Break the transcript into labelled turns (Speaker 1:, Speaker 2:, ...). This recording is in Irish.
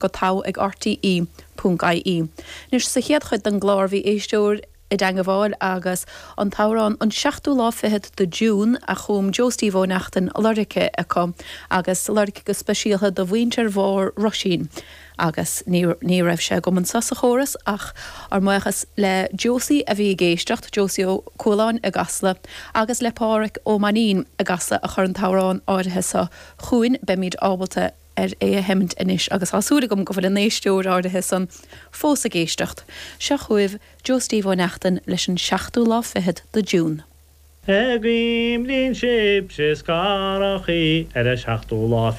Speaker 1: Go togha ag RTÉ. ie. Anois, sa chéad chuid den gclár bhí éisteoir i dteangabháil agus an t-amhrán An Seachtú Lá Fichead de June a chum Joe Steve Ó Neachtain lorgtha acu agus lorgtha go speisialtha do mhuintir Bharr Roisín agus ní ní raibh sé agam anseo sa chóras ach ár mbuíochas le Josie a bhí ag éisteacht, Josie Ó Cualáin i gCasla agus le Pádhraic Ó Mainnín i gCasla a chuir an t-amhrán áirithe seo chugainn. Beimid ábalta ar é a sheimint anois agus tá súil agam go bhfuil an éisteoir áirithe san fós ag éisteacht. Seo chugaibh Joe Steve Ó Neachtain leis an seachtú lá fichead de June.
Speaker 2: Guím linn sibhse is garachaí ar an seachtú lá.